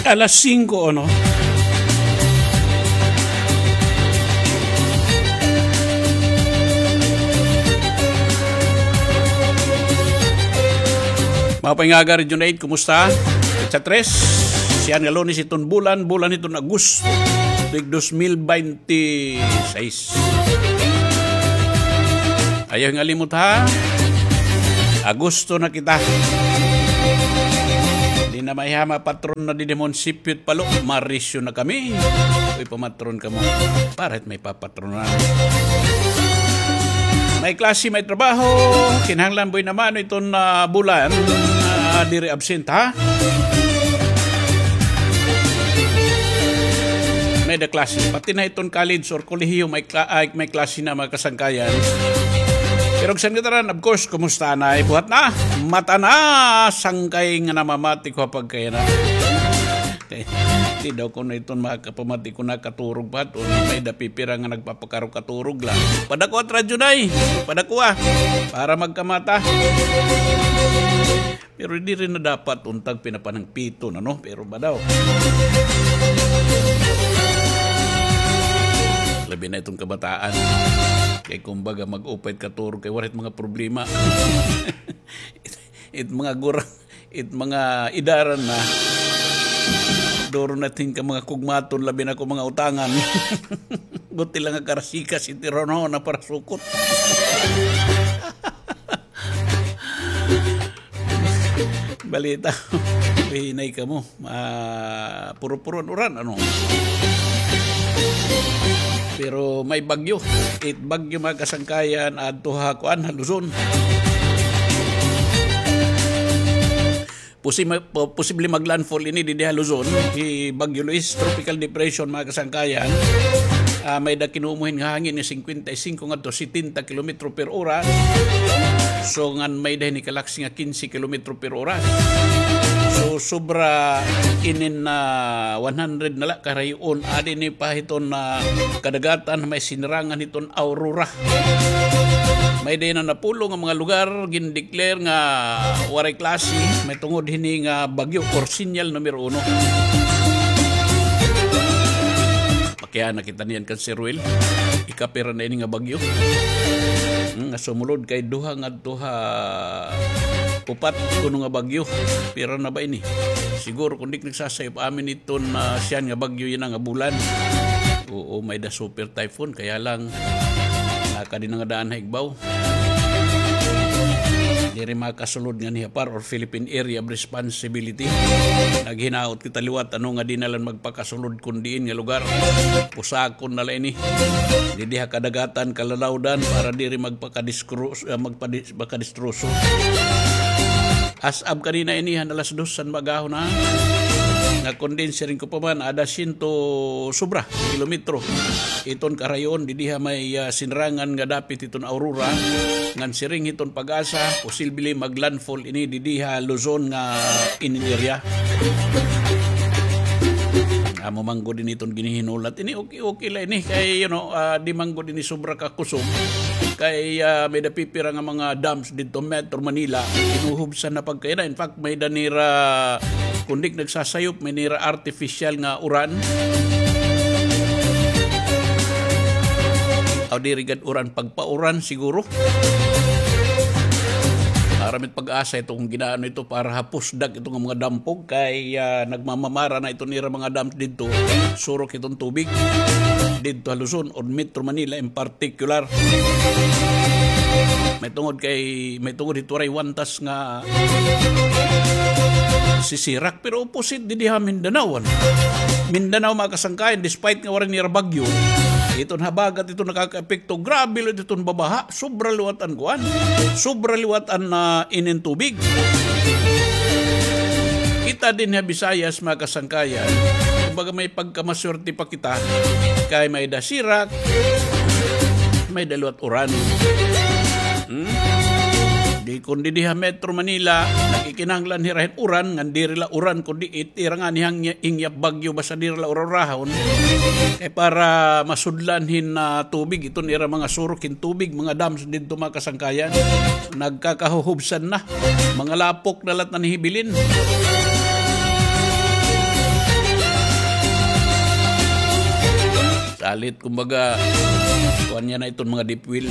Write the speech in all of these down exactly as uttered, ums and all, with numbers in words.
Alas singko, ano? Mga paingaga, Region eight, kumusta? Petsa tres, siya nga Lunes iton bulan, bulan iton Agosto, tuig dos mil baynte sais. Ayaw nga limot, ha? Agosto na kita. Di na may hama patron na di demon sipyot palo. Marisyo na kami. Uy, pamatron kamo. Para it may papatronan. May klase, may trabaho. Kinahanglan buena mano iton, ah, bulan. Ah, diri absent, ha? May da klase. Pati na iton college or kolehiyo, may kla-, ay, may klase na, mga kasangkayan. Pero san kataran, of course, kumusta na? Ay, buhat na. Mata na, sangkay nga namamati ko pagkaya na. Di daw ko na iton makapamati ko nakaturog pa. May da pipira nga nagpapakarukaturog la. Padakuha it radyo, day. Padakuha. Para magkamata. Pero diri na dapat unta pinapanangpiton, ano? Pero ba daw? Labi na iton kabataan. Kay kumbaga mag-upay it katurog kay waray it mga problema. It mga gurang, it mga edaran na. Duro na it hin ka mga kugmaton, labi na ko mga utangan. Buti la nga karasikas it iraw na para sukot. Balita. Hinay kamo. Ah, puro-puro an uran, ano? Pero may bagyo. It bagyo, mga kasangkayan, adto ha kuan, ha Luzon. Posi-, po-, posible mag-landfall ini didi ha Luzon. Hi Bagyo Luis, tropical depression, mga kasangkayan. Ah, may da kinumo hin nga hangin nga singkwenta y singko ngadto setenta kilometro per oras. So, ngan may da hini kalaksi nga kinse kilometro per oras. So, sobra inin na one hundred na la karayon. Adi ini pa hiton na kadagatan may sinirangan hiton Aurora. May da na napulo nga mga lugar gindeclare nga waray klase, may tungod hini nga bagyo or sinyal numero uno. Pakiana kita niyan kan Sir Will. Ikapira na ini nga bagyo. Hmm, nga sumulod kay duha ngadto ha upat kuno nga bagyo. Pira na ba ini? Siguro kung di nagsasayop amin iton, ah, siyan nga bagyo yana nga bulan. Oo, may da super typhoon, kaya lang, nakadi na nga daan ha igbaw. Diri makasulod nganhi ha PAR or Philippine Area of Responsibility. Naghinaot kita liwat, ano, nga di na lang magpakasulod kun diin nga lugar. Pusakon na la ini. Didi ha kadagatan, kalalawdan, para diri magpakadiskru-, ah, magpadi-, makadistroso. As of kanina ini, han alas dos han maagahon na. Nga kun diin siring ko pa man, ada siyento sobra kilometro iton karayon, didi ha may, ah, sinrangan nga dapit hiton Aurora, ngan siring hiton PAGASA, posible mag-landfall ini didi ha Luzon nga inin area. Amo man gud ini iton ginhihinulat. Ini okay, okay la ini kay, you know, ah, di man gud ini sobra ka kusog. Kay, ah, may da pipira nga mga dams didto Metro Manila, hinuhubsan na pagkaina. In fact, may da nira, kun di nagsasayop, may nira artificial nga uran. Aw, diri gad uran, pagpauran siguro. Aram it PAGASA ito kun gin-aano ito para ha pusdak ito nga mga dampog kay, ah, nagmamamara na ito nira mga dams didto. Surok iton tubig didto ha Luzon o Metro Manila in particular. May tungod kay, may tungod hito waray wantas nga sisirak, pero opposite didi ha Mindanao, ano? Mindanao, mga kasangkayan, despite nga waray nira bagyo, iton habagat ito nakakaepekto. Grabe liwat iton babaha, sobra liwat an kuan, sobra liwat an, ah, inin tubig. Kita dinhi ha Visayas, mga kasangkayan, kumbaga may pagkamaswerte pa kita, kay may da sirak, may da liwat uran. Hmm? Di kun didi ha Metro Manila, nakikinahanglan hira hin uran, ngan diri la uran, kundi it ira ngani hin ingyap bagyo, basta diri la urahurahon. Kay para masudlan hin, ah, tubig, iton ira mga surok hin tubig, mga dams didto, mga kasangkayan. Nagkakahuhubsan na. Mga lapok na la it nanhihibilin. Talit, kumbaga, kuan niya na iton mga deep well.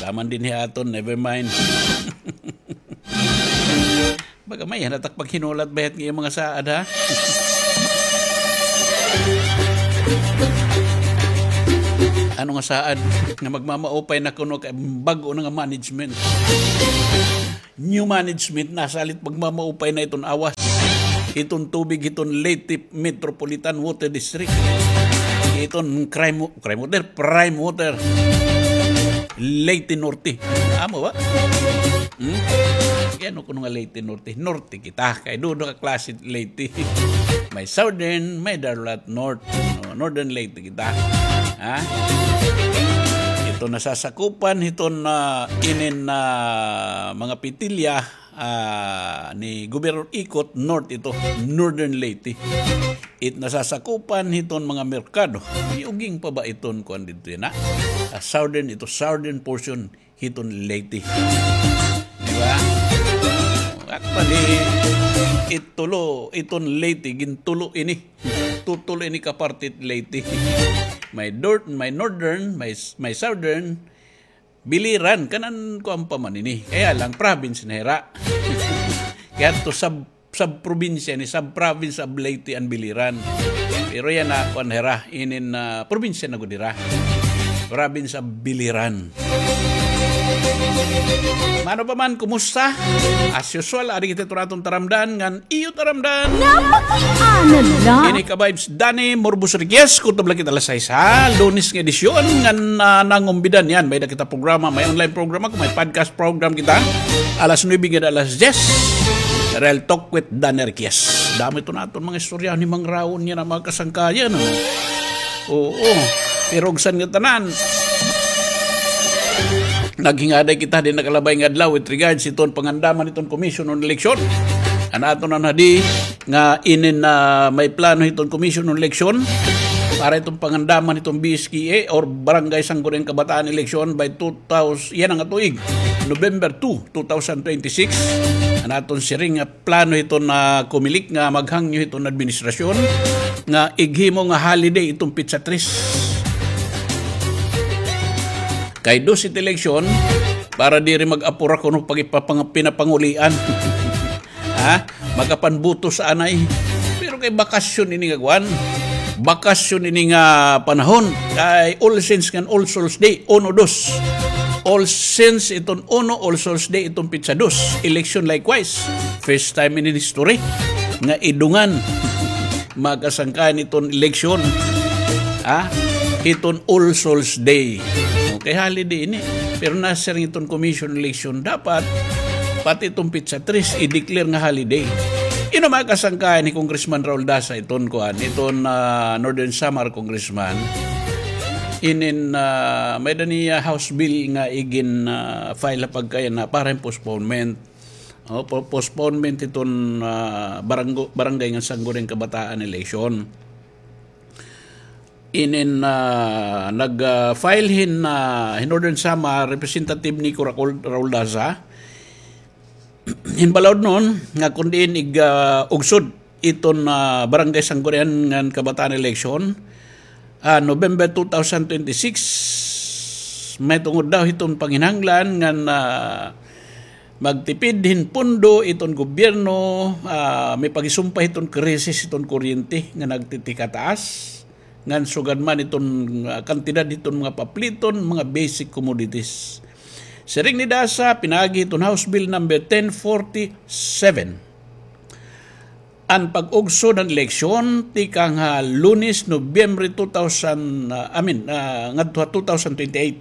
Daman dinhi aton, never mind. Baga may hinatak paghinulat bayat nga iyang mga saad, ha? Ano nga saad? Nga magmamaupay na kuno kay bag-o na nga management. New management, nasalit pagmamaupay na iton awas. Iton tubig, iton Leyte Metropolitan Water District. Iton crime, crime water, prime water. Leyte Norte. Amo ba? Hmm? Kaya ano kuno nga Leyte Norte? Norte kita. Kay duha ka klase Leyte. May Southern, may Darulat North. No, Northern Leyte kita. Ha? Ito nasasakupan hiton, ah, inin, ah, mga pitilya, ah, ni Gobernador Ikot, North ito, Northern Leyte. It nasasakupan hiton mga merkado. May uging pa ba iton kuan didto yana? Ah, Southern ito, Southern portion hiton Leyte. Di ba? Actually, itulo, iton Leyte, gintulo ini. Tutulo ini ka parte it Leyte. May nor-, may northern, may, may southern, Biliran, kanan kuan pa man ini. Kaya lang, province na hira. Kaya to sub, sub-probinsya ni, sub-province of Leyte and Biliran. Pero yana, kuan hira, inin, ah, probinsya na gud hira. Province of Biliran. Mano pa man, kumusta? As usual, adi kita turaton taramdan, ngan iyo taramdan. Napakiana la. Ini ka vibes Danny Morbos Riquez, kutob la kita alas sais, ha? Lunes nga edisyon, ngan, ah, nangumbidan yan. May da kita programa, may online programa, kung may podcast program kita. Alas nuebe ngada alas diyes. Real Talk with Danny Riquez. Damo ito naton mga istorya ni Mang Raon niya na mga kasangkayan, ano? Oo. Pero ugsan nga tanan. Naghingaday kita din nakalabay nga adlaw with regards iton pangandaman iton Commission on Election. An aton na di nga inin na may plano iton Commission on Election para iton pangandaman iton B S K E or Barangay Sangguniang Kabataan Election by two thousand, yana nga tuig, November two, two thousand twenty-six. An aton siring nga plano hiton, ah, Comelec nga maghangyo hiton administrasyon nga ighimo nga holiday iton petsa tres. Kay dos it eleksyon, para diri mag-apura kuno pag ipapang-, pinapangulian. Ha? Makapanbuto sa anay. Pero kay bakasyon ini nga kuan. Bakasyon ini nga panahon. Kay All Saints ngan All Souls Day, uno, dos. All Saints iton uno, All Souls Day iton petsa dos. Election likewise. First time in history nga idungan mga kasangkayan iton eleksyon. Ha? Iton All Souls Day. Okay, holiday ini. Pero nasiring iton Commission on Election, dapat pati iton petsa tres i-declare nga holiday. Ino mga kasangkayan ni Congressman Raul Daza iton kuan, iton, ah, Northern Samar Congressman. Inin, ah, may-ada niya House Bill nga igin, ah, file ha pagkayan na para hin postponement. O, po-, postponement iton, ah, baranggo-, barangay ngan sangguniang kabataan election. Inin, ah, nag, ah, file hin, ah, hin Northern Samar, Representative Nico Racol-, Raul Daza. Hin balaod nun, nga kun diin ig, ah, ugsod iton, ah, barangay sanggunian ngan kabataan election, ah, November two thousand twenty-six, may tungod daw hiton panginahanglan ngan, ah, magtipid hin pondo iton gobyerno, ah, may pagisumpay hiton krisis hiton kuryente nga nagtitikataas. Ngan sugad man iton, ah, kantidad hiton mga papliton, mga basic commodities. Siring ni Daza, pinaagi hiton House Bill number ten forty-seven. An pag-ugsod han eleksyon, tikang ha Lunes, Nobyembre two thousand, ah, I mean, ah, ngadto ha two thousand twenty-eight.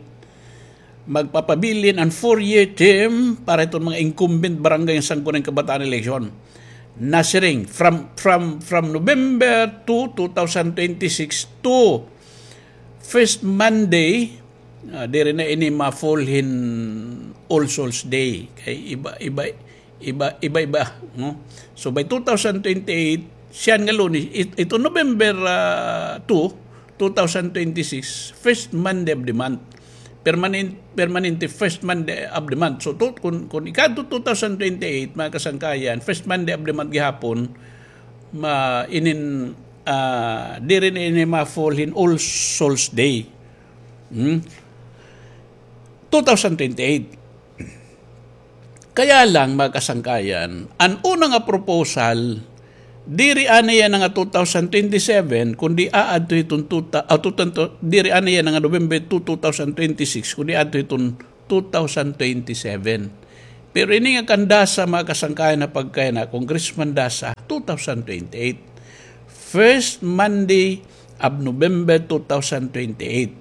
Magpapabilin an four-year term para hiton mga incumbent barangay ngan sangguniang kabataan election. Nasiring, from, from, from November two, two thousand twenty-six to first Monday, ah, diri na ini ma-fall hin All Souls Day. Kay iba, iba, iba, iba-iba, no? So, by two thousand twenty-eight, siya nga Lunes, it-, ito November, ah, two, two thousand twenty-six, first Monday of the month. Permanen-, permanente first Monday of the month. So, to-, kun, kun ikadto two thousand twenty-eight, mga kasangkayan, first Monday of the month gihapon, ma-, inin ah, diri na ini ma-fall hin All Souls Day. Hmm? Two thousand twenty-eight. Kaya lang, mga kasangkayan, an una nga proposal, diri anay yana nga two thousand twenty-seven, kundi aadto hiton two thou-, ah, two thousand, diri anay yana nga November two, two thousand twenty-six, kundi aadto hiton two thousand twenty-seven. Pero ini nga kan Daza, mga kasangkayan, nga pagkayana, Congressman Daza, two thousand twenty-eight. First Monday of November two thousand twenty-eight.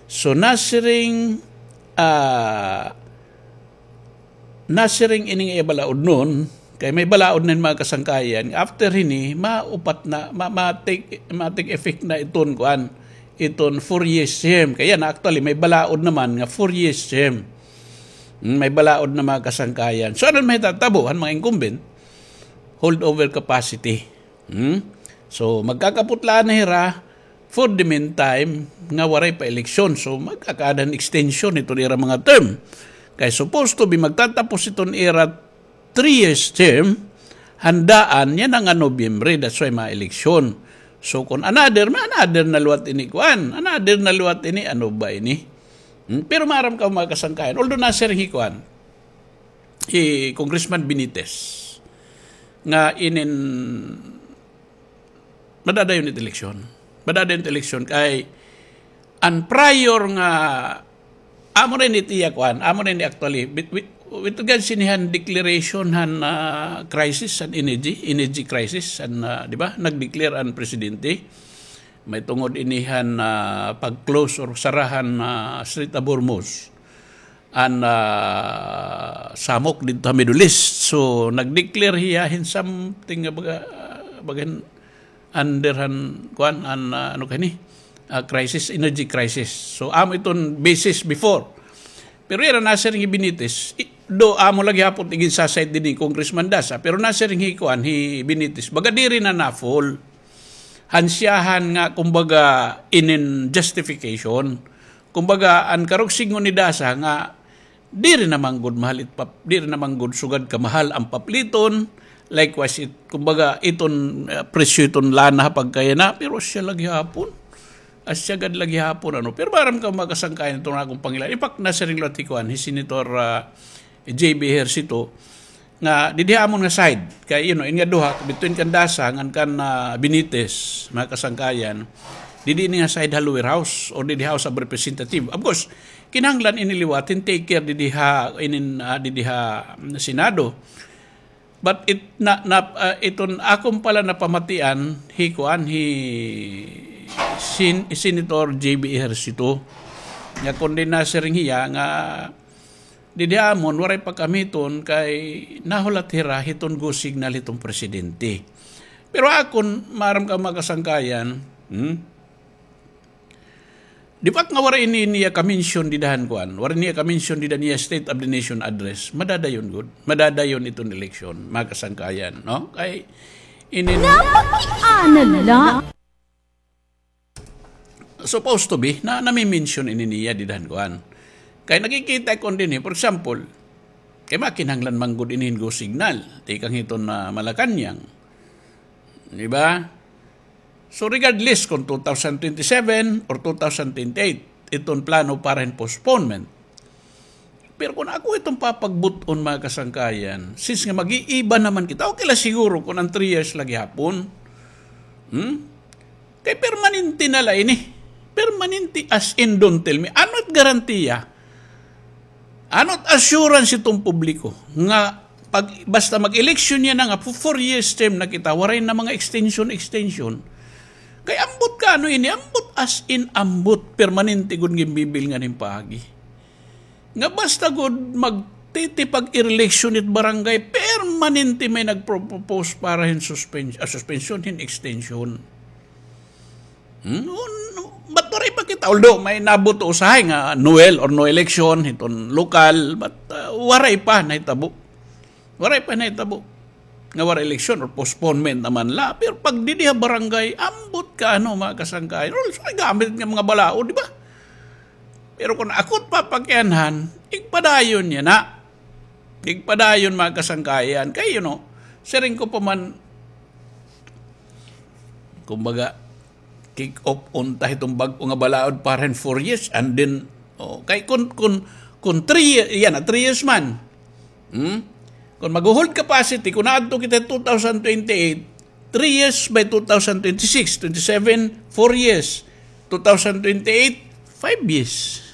So, nasiring, ah, nasiring ini nga iya balaod nun, kay may balaod na hin mga kasangkayan. After hini, maupat na, ma-, ma-take, ma-take effect na iton, kuan, iton four years term. Kay yana, actually, may balaod naman nga four years term. Hmm, may balaod na mga kasangkayan. So, ano an mahitatabo han mga incumbent? Holdover capacity. Hmm? So, magkakaputlaan na hira for the meantime nga waray pa eleksyon. So, magkakaada hin extension iton ira mga term. Kay supposed to be magtatapos iton ira three years term, han daan yana nga Nobyembre, that's why mga eleksyon. So, kon another, may another na liwat ini kuan, another na liwat ini, ano ba ini? Hmm? Pero maaram ka, mga kasangkayan, although nasiring hi kuan, hi Congressman Benitez, nga inin madadayon it eleksyon. Madadayon it eleksyon kay an prior nga amo na ini it iya kuan, amo na ini actually, with, with, with regards ini han declaration han, ah, crisis, han energy, energy crisis, han, ah, di ba? Nag-declare an presidente. May tungod ini han, ah, pag-close or sara han, ah, Strait of Hormuz an, ah, samok didto ha Middle East. So, nag-declare hiya hin something nga baga, baga hin under han, kuan, an, ah, ano kani? Ah, crisis, energy crisis. So, amo iton basis before. Pero yana nasiring hi Benitez, i-, do amo la gihapon it gin-side dinhi ni Congressman Daza, pero nasiring hi kuan, hi Benitez, baga diri na na-fall han siyahan nga, kumbaga, inin justification. Kumbaga, an karuyag sidngon ni Daza nga diri na man gud mahal it pap-, diri na man gud sugad kamahal an papliton. Likewise, it, kumbaga, iton, eh, presyo iton lana ha pagkayana, pero asya la gihapon. Asya gad la gihapon, ano. Pero maaram ka, mga kasangkayan, iton akon pangilan. In fact, nasiring liwat hi kuan, hi Senator, ah, J B Ejercito, nga didi ha amon nga side, kay, you know, ini nga duha, between kan Daza ngan kan, ah, Benitez, mga kasangkayan, didi ini nga side ha lower house or didi House of Representative. Of course, kinahanglan ini liwat hin take care didi ha, inin, ah, didi ha, mm, Senado. But it, na, na, ah, iton akon pala napamatian, hi kuan, hi Sen-, Senator J B Ejercito, nga kon di nasiring hiya nga didi ha amon, waray pa kami hiton kay nahulat hira hiton go signal hiton presidente. Pero akon, maaram ka, mga kasangkayan, hmm? Di ba nga waray ini niya ka-mention dida han kuan? Waray niya ka-mention dida niya State of the Nation Address. Madadayon gud. Madadayon iton eleksyon, mga kasangkayan, no? Kay ini Napakiana la. Supposed to be, na, nami-mention ini niya dida han kuan. Kay nakikita ko dinhi, for example, kay makinahanglan man gud ini hin go signal, tikang hiton, ah, Malacañang. Di ba? So regardless kung two thousand twenty-seven or two thousand twenty-eight, iton plano para hin postponement. Pero kung ako iton papagbut-on, mga kasangkayan, since nga mag-iiba naman kita, okay la siguro kung an three years la gihapon. Hmm? Kay permanente na la ini. Permanente as in, don't tell me. Ano it garantiya? Ano it assurance iton publiko nga pag, basta mag-eleksyon yana nga, fu-, four years term na kita, waray na mga extension, extension. Kay ambot ka, ano ini, ambot as in, ambot, permanente gud nga ginbibilngan hin paagi. Nga basta gud magtitipag-eleksyon it barangay, permanente may nagpropose para hin suspen-, ah, suspension, hin extension. Hmm? No, no. But waray pa kita, although may nabuto usahay nga Noel or no election hiton lokal, but, ah, waray pa nahitabo. Waray pa nahitabo nga waray eleksyon or postponement naman la. Pero pag didi ha barangay, ambot ka, ano, mga kasangkayan. Or, sorry, gamit nga mga balaod, di ba? Pero kung ako it papakianhan, igpadayon yana. Igpadayon, mga kasangkayan. Kay, you know, siring ko pa man, kumbaga, kick off unta hiton bag-o nga balaod para hin four years, and then, oh, kay kun, kun, kun three, yana, three years man. Hmm? Kun magho-hold capacity, kun naadto kita two thousand twenty-eight, three years by two thousand twenty-six, twenty-seven, four years. Two thousand twenty-eight, five years.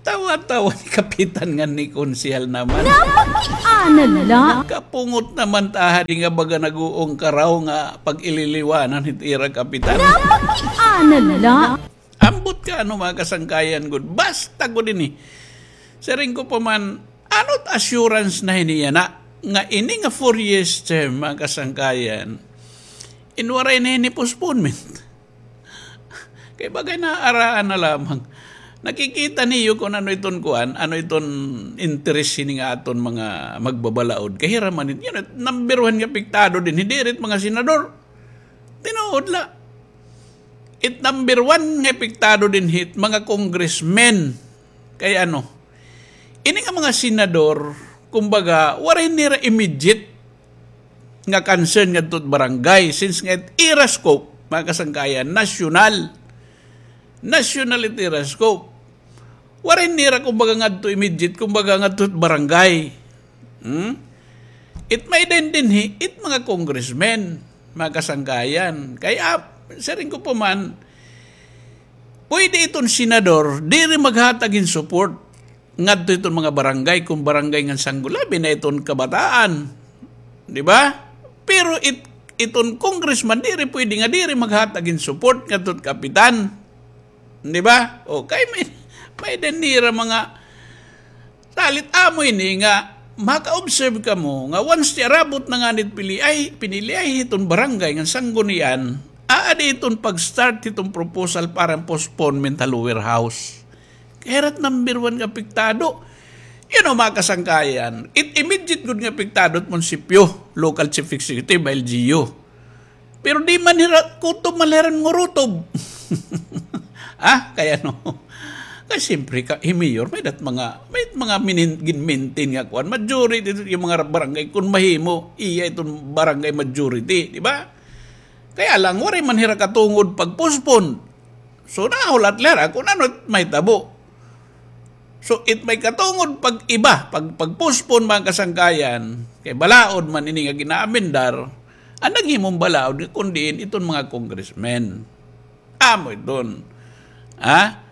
Tawa-tawa ni Kapitan ngan ni Konsehal naman. Napakiana la. Kapungot naman ta ha di nga baga nag-uong karaw nga pag-ililiwanan hit ira Kapitan. Napakiana la. Ambot ka, ano, mga kasangkayan gud. Basta gud ini. Siring ko pa man, ano it assurance na hini yana, nga ini nga four years term, mga kasangkayan, in waray na hini postponement. Kay bagay naaraan na lamang. Nakikita niyo kun ano iton kuan, ano iton interes hini nga aton mga magbabalaod. Kay hira man it, you know, number one nga apektado dinhi, diri it mga senador. Tinuod la. It number one nga apektado dinhi it mga congressmen. Kay ano, ini nga mga senador, kumbaga, waray nira immediate nga concern ngadto it barangay, since nga it ira scope, mga kasangkayan, national. National it ira scope. Waray nira, kumbaga, ngadto immediate, kumbaga, ngadto it barangay. Hmm? It may-ada dinhi, it mga congressmen, mga kasangkayan. Kay, ah, siring ko pa man, pwede iton senador, diri maghatag hin support ngadto iton mga barangay, kun barangay ngan sanggunian, labi na iton kabataan. Di ba? Pero it-, iton congressman, diri pwede nga diri maghatag hin support ngadto it kapitan. Di ba? O, kay may, may-ada nira mga salit. Amo ini nga maka-observe kamo nga once ti arabot na ngani it piliay, piniliay hiton barangay ngan sanggunian, aadi iton pag-start hiton proposal para hin postponement ha lower house. Kay hira it number one nga apektado. You know, mga kasangkayan, it immediate gud nga apektado it munisipyo, local chief executive, L G U. Pero di man hira, kutob man la hira ngurutob. Ah, kay ano? Kay siyempre ka, hi mayor, may-ada it mga, may mga minin-, gin-maintain nga kuan, majority it mga barangay, kun mahimo, iya iton barangay majority, di ba? Kaya lang, waray man hira katungod pag-postpone. So, nahulat la hira kun ano it mahitabo. So, it may katungod pag-iba, pag, pag-postpone, mga kasangkayan, kay balaod man ini nga ginaamendar, an naghimo hin balaod, kun diin iton mga congressmen. Amo iton. Ha?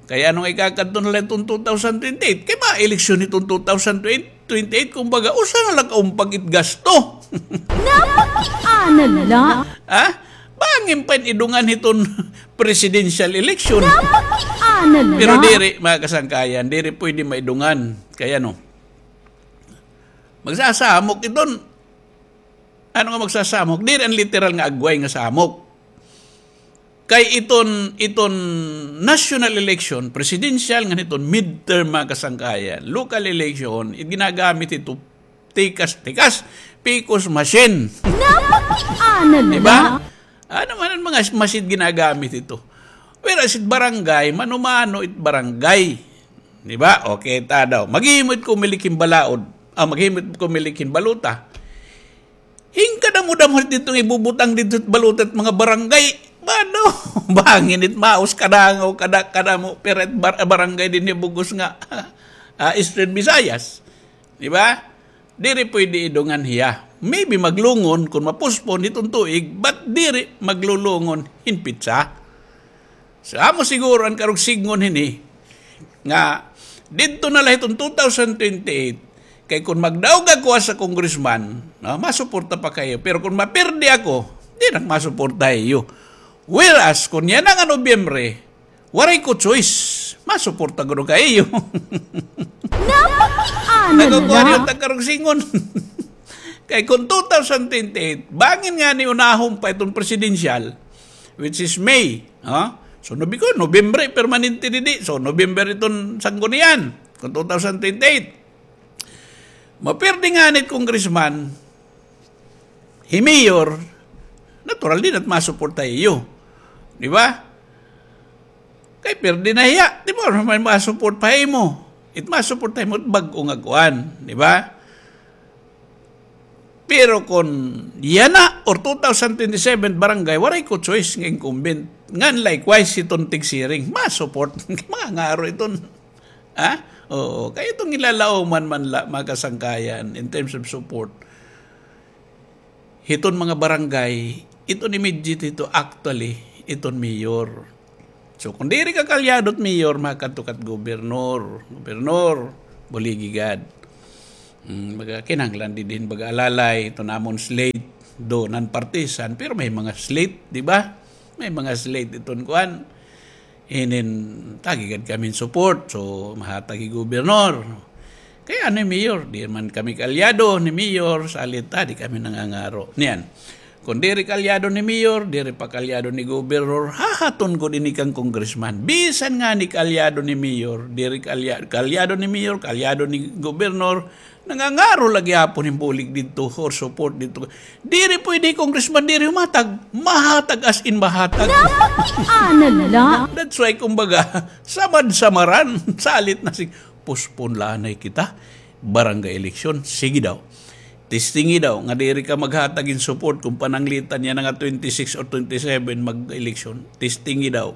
Kay ano nga ikakadto na la iton two thousand twenty-eight? Kay mga eleksyon iton two thousand twenty-eight, kumbaga, usa na la kaumpag it gasto. Napakiana la. Ha? Bangin pa in idungan hiton presidential election. Napakiana la. Pero diri, mga kasangkayan, diri pwede maidungan. Kay ano, magsasamok iton. Ano nga magsasamok? Diri an literal nga agway nga samok. Kay iton, iton national election, presidential, ngan hiton midterm, mga kasangkayan, local election, it ginagamit hito tikas-tikas, pekos machine. Napakiana la. Di ba? Ano man an mga machine ginagamit hito? Whereas it barangay, mano-mano it barangay. Di ba? Okay, ta daw. Maghimo it COMELEC hin balaod. Ah, maghimo it COMELEC hin balota. Hin kadamo-damo didto nga ibubutang didto balota it mga barangay. Ano? Bangin it maus kadangaw, kada, kadamo, pero it bar-, barangay dinhi bug-os nga, ah, Eastern Visayas. Di ba? Diri pwede idungan hiya. Maybe maglungon kun ma-postpone hiton tuig, but diri maglulungon hin petsa. So, amo siguro an karuyag sidngon hini, nga didto na la hiton two thousand twenty-eight, kay kun magdaog ako as a congressman, no, masuporta pa ha iyo. Pero kun mapirdi ako, di na ak masuporta ha iyo. Whereas, kun yana nga Nobyembre, waray ko choice, masuporta gud ako ha iyo. Napakiana la. Nakukuha niyo it ak karuyag sidngon. Kay kun two thousand twenty-eight, bangin ngani unahon pa iton presidential, which is May, ha? So, Nobi-, ko, Nobyembre, permanente didi. So, November iton sanggunian, kun two thousand twenty-eight. Mapirdi ngani it congressman, hi mayor, natural, di na it masuporta ha iyo. Di ba? Kay pirdi na hiya, di ba, may masuporta ha imo. It masuporta ha imo, bag-o nga kuan, di ba? Pero kon yana or two thousand twenty-seven barangay, waray ko choice nga incumbent. Ngan likewise, hiton tigsiring, ma-support. Mga ngaro iton. Ha? Oo. Kay iton gilalaoman man la, mga kasangkayan, in terms of support. Hiton mga barangay, iton immediate hito actually, iton mayor. So, kon diri ka kaalyado hit mayor, makadto ka hit gobernor. Gobernor, buligi gad. Mm, baga, kinahanglan didi hin baga alalay, iton amon slate, do, non-partisan, pero may mga slate, di ba? May mga slate iton kuan. Inin, tagi gad kami hin support. So, mahatag hi gobernor. Kay ano hi mayor? Di man kami kaalyado ni mayor, salit ta, di kami nangangaro. Niyan. Kon diri kaalyado ni mayor, diri pa kaalyado ni gobernor, hahaton gud ini kan congressman. Bisan ngani kaalyado ni mayor, diri kaalya-, kaalyado ni mayor, kaalyado ni gobernor, nangangaro la gihapon hin bulig didto or support didto. Diri pwede, congressman, diri humatag. Mahatag as in mahatag. Napakiana la. That's why, kumbaga, samad-samaran, salit na si, postpone la anay kita. Barangay election, sige daw. Testingi daw, nga diri ka maghatag hin support kon pananglitan yana nga twenty-six or twenty-seven mag-election. Testingi daw.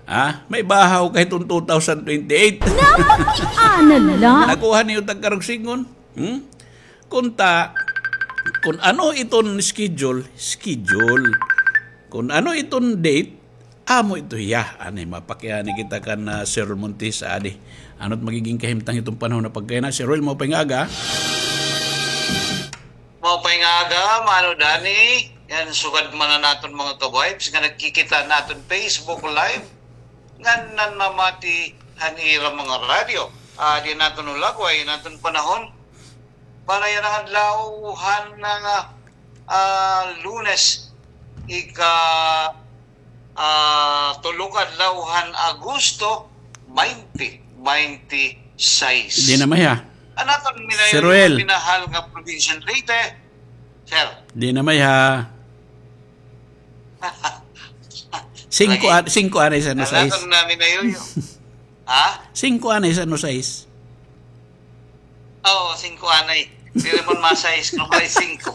Ha? May bahaw ka hiton two thousand twenty-eight. Napakiana la. Nakuha niyo tagkarugsingon? Hmm? Kunta, kon ano iton schedule, schedule. Kon ano iton date, amo ito hiya. Ani, mapakiana kita kan, ah, Sir Montis, adi. Ano it magiging kahimtang hiton panahon nga pagkaina? Sir Roel, maupay nga aga. Maupay nga aga, Mano Dani. Yan, sugad man an aton mga ka-vibes nga nagkikita han aton Facebook Live, ngan namamati han ira mga radyo. Ah, di naton ulagway an aton panahon. Para yana nga adlaw han, ah, ah, Lunes, ika, ah, tulo ka adlaw han Agosto, twenty twenty-six. Di na may ha. An aton Sir Roel. Minahal nga probinsya han Leyte. Sir. Di na may ha. Singko, lagi. An-, singko anay san no sais. An aton na minayuyo. Ha? Singko anay san no sais. Oo, singko anay. Diri man ma-sais kon may singko.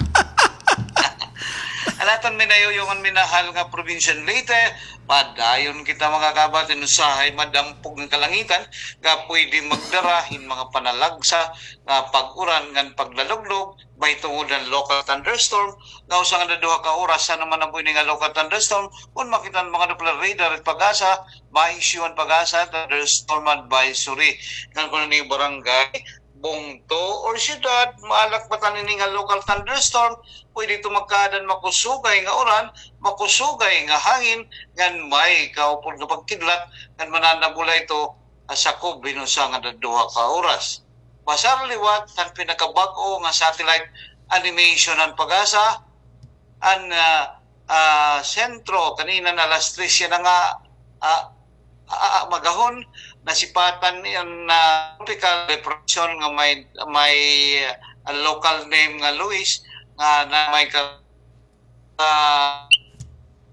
An aton minayuyo ngan minahal nga probinsya han Leyte, padayon kita, mga kabati, hin usahay madampog nga kalangitan nga pwede magdara hin mga panalagsa nga pag-uran ngan paglaluglog, mahitungod han local thunderstorm, nga usa nga duha ka oras, ano man an buhi ini nga local thunderstorm, kon makita han mga Doppler radar it PAGASA, ma-issue an PAGASA thunderstorm advisory. Ngan kon an iyo barangay, bungto, or syudad, maalakbatan ini nga local thunderstorm, pwede ito magkaada han makusugay nga uran, makusugay nga hangin, ngan may kaupod nga pagkidlat, ngan mananabula ito, ah, sakob hin usa nga duha ka oras. Basar liwat han pinakabag-o nga satellite animation han PAGASA, an, ah, ah, sentro, kanina nga alas tres yana nga, ah, ah, ah, magahon, nasipatan niyan nga tropical depression nga may, may, ah, local name nga Luis, nga na may ka-, ah,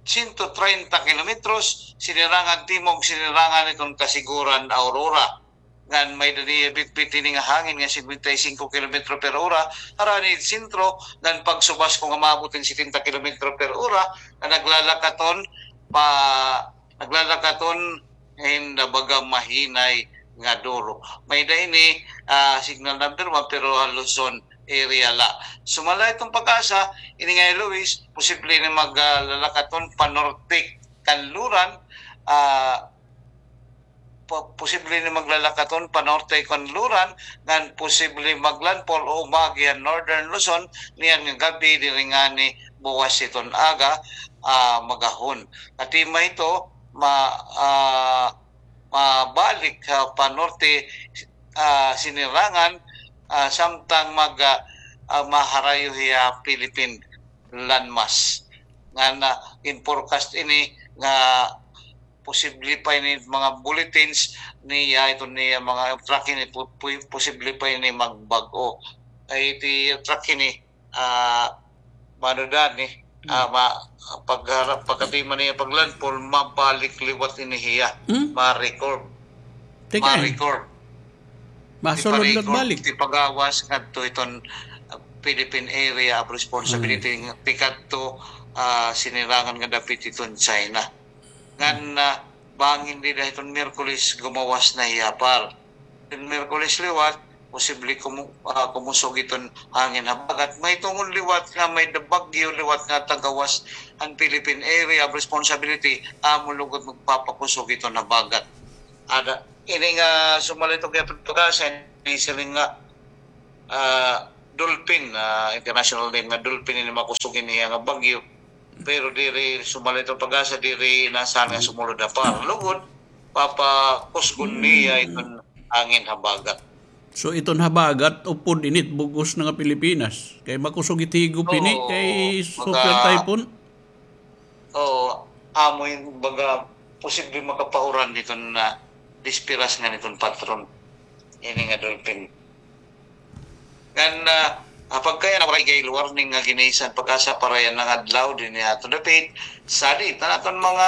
sento treinta kilometros, sinirangan timog, sinirangan hiton Casiguran, Aurora. Ngan may-ada niya bitbit ini nga hangin nga singkwenta y singko kilometro per ora, harani sentro, ngan pagsubas kon maabot hin setenta kilometro per ora, nga naglalakaton pa, naglalakaton hin baga mahinay nga duro. May-ada ini, ah, signal number one, pero ha Luzon area la. Sumala iton PAGASA, ini nga hi Luis, posible ini mag, ah, lalakaton panorte kanluran, ah, po-, posible ini maglalakaton panorte kanluran, ngan posible maglandfall o umagi han Northern Luzon niyan nga gab-i diri ngani buwas hiton aga, ah, magahon. Katima hito, ma-, ah, mabalik ha panorte, ah, sinirangan, ah, samtang mag, ah, ah, maharayo hiya Philippine landmass. Ngan, ah, in-forecast ini nga posible pa ini mga bulletins niya, ito niya mga track ini, pu-, pu-, posible pa ini magbag-o. Ay, iti track ini, ah, mano dan, eh, ah, ma-, pag-, pagkatima niya paglandfall, mabalik liwat ini hiya. Hmm? Ma-record. Teka, eh. Ma-record. Masulod liwat balik. Tipagawas ngadto iton, ah, Philippine Area of Responsibility, mm, tikadto, ah, sinirangan nga dapit hiton China. Ngan, ah, bangin dida hiton Miyerkules, gumawas na hiya, par. Hiton Miyerkules liwat, posible kumu-, ah, kumusog hiton hangin habagat. Mahitungod liwat nga may da-, bagyo liwat nga tagawas han Philippine Area of Responsibility, amo lugod magpapakusog hiton habagat. Ada, ini nga sumala hiton kay pagkasa, ini siring nga ah, Dolphin, ah, international name nga Dolphin ini makusog ini nga bagyo. Pero diri sumala hiton Pag-asa, diri inasahan nga sumulod ha par. Lugod, papakusgon niya iton hangin habagat. So, iton habagat, upod ini it bug-os na nga Pilipinas. Kay makusog it higop ini, oo, kay super typhoon. Oo, amo ini, baga, posible makapauran hiton, ah, dispiras ngan hiton patron. Ini nga Dolphin. Ngan, ah, ah, pagkaya na waray gale warning nga gin-issue an Pag-asa para yana nga adlaw dinhi ha aton dapit. Sadi, tan aton mga,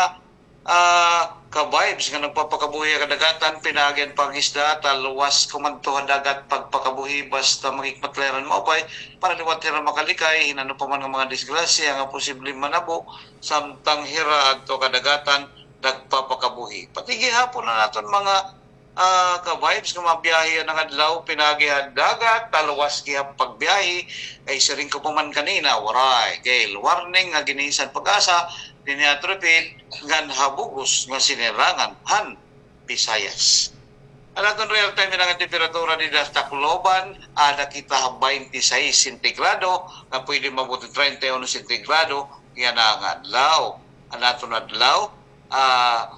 ah, ka-vibes nga nagpapakabuhi ha kadagatan, pinaagi an pangisda, talwas kumadto ha dagat, pagpakabuhi, basta makikmatlayaran maupay, para liwat hira makalikay hin ano pa man nga mga disgrasya nga posible manabo, samtang hira adto kadagatan nagpapakabuhi. Pati gihapon an aton mga, ah, ka-vibes nga mabiyahe yana nga adlaw, pinaagi ha dagat, talwas gihap pagbiyahe, kay siring ko pa man kanina, waray gale warning nga gin-issue an Pag-asa dinhi ha aton dapit ngan ha bug-os nga sinirangan han Visayas. An aton real time yana nga temperatura dida ha Tacloban, ada kita ha baynte sais sentigrado, nga pwede maabot hin treinta y uno sentigrado yana nga adlaw. An aton adlaw, ah,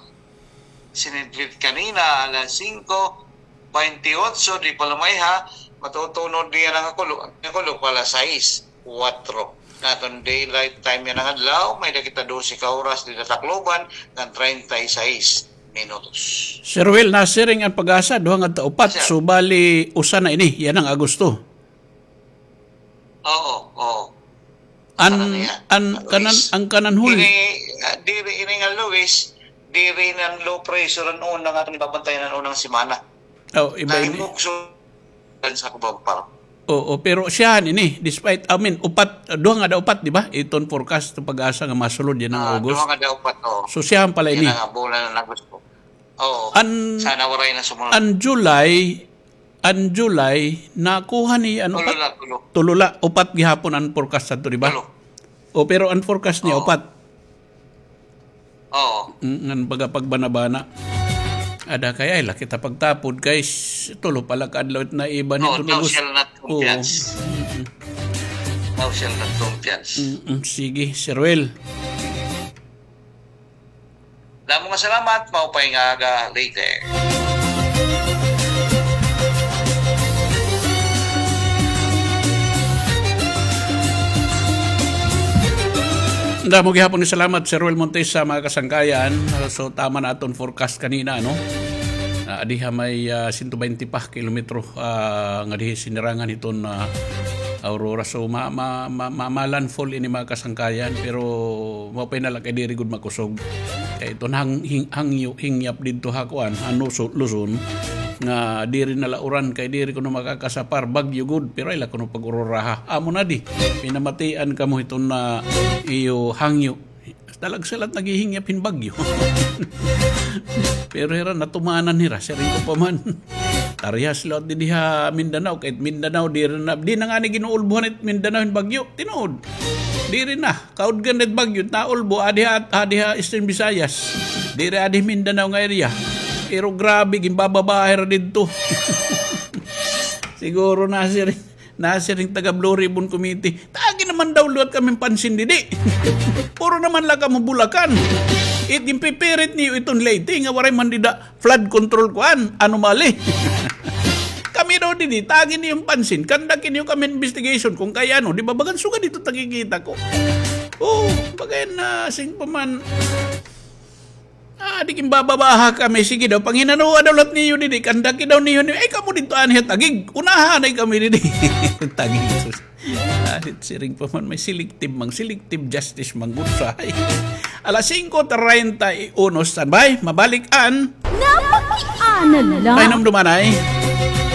sinidlit kanina, alas singko baynte otso, di pa lumayha, matutunod niya nga kulo, nga kulo pa alas sais. Kuwatro. An aton daylight time yana nga adlaw, may-ada kita dose ka oras dida ha Tacloban, ngan treinta y seis minutos. Sir Will, nasiring an Pag-asa, duha ngadto upat, sir. So, bali, usa na ini, yana nga Agosto. Oo, oo. An, usa na niya, an kanan, Luis. An kanan hul- Ini, ah, diri, ini nga Luis, diri na an low pressure an una nga aton ibabantayan an unang semana. Oh, iba ini. Nahimugso sa Cubao Park. Oo, pero siya ini, despite, I mean, upat, duha ngada upat, di ba? Iton forecast, Pag-asa nga masulod yana nga August. Ah, duha ngada upat, oo. So, siya pala ini. Yana nga bulan nga Agosto. Oo. An, sana waray na sumulod. An July, an July, nakuha ni, ano, tulo upat? La, tulo. Tulo la, upat gihapon an forecast adto, di ba? Tulo. O, pero an forecast niya, oo, upat. Oo. Mm, ngan baga pagbana-bana. Ada kay, ay, la kita pagtapod kay s-, tulo pa la ka adlaw it naiba nito. Oo, thou shall not confiance. Oo. Mm-mm. Thou shall not confiance. Mm-mm. Sige, Sir Will. Damo nga salamat, maupay nga aga, Leyte. Damo gihapon nga salamat, Sir Roel Montes, sa mga kasangkayan. So, tama na aton forecast kanina, no? Ah, diha may, ah, sento baynte pa kilometro, ah, nga dihi sinirangan hiton, ah, Aurora. So, ma-, ma-, ma-, ma-, ma-landfall ini, mga kasangkayan, pero maupay na la kay diri gud makusog. Kay iton hang-, hing-, hangyo, hingyap didto ha kuan, ha Nuso-, Luzon, nga diri na la uran kay diri kuno makakasapar, bagyo gud, pero ay la kuno pag-uroraha. Amo na di, pinamatian kamo hiton na iyo hangyo. Talagsalat naghihingyap hin bagyo. Pero hira, natumanan hira, siring ko pa man. Tarihas liwat didi ha Mindanao, kay it Mindanao, diri na, di na ngani ginuulbohan it Mindanao hin bagyo. Tinuod. Diri na. Kaudgan na it bagyo, naulbo, adi ha, adi ha Eastern Visayas. Diri adi Mindanao nga area. Pero grabe, ginbababaha hira didto. Siguro na, sir. Nasiring taga Blue Ribbon Committee, "Tagi naman daw liwat kami hin pansin didi. Puro naman la kamo Bulacan. It ginpipirit niyo iton Leyte nga waray man dida flood control kuan, anomaly." Kami daw didi, tagi niyo hin pansin. Conduct niyo kami hin investigation kung kay ano. Di ba, bagan sugad ito nakikita ko. Oh, bagay na, sing pa man. Ah, di ginbababaha kami. Sige daw, panghinanoa daw liwat niyo didi. Kandaki daw niyo ni, ay, kamo didto anhi ha Taguig. Unahan ay kami didi. Taguig, sus. Ah, siring pa man, may selective mang, selective justice mang gud sa. Alas singko treinta y uno, standby. Mabalik an. Napakiana lang. Ay, numduman ay.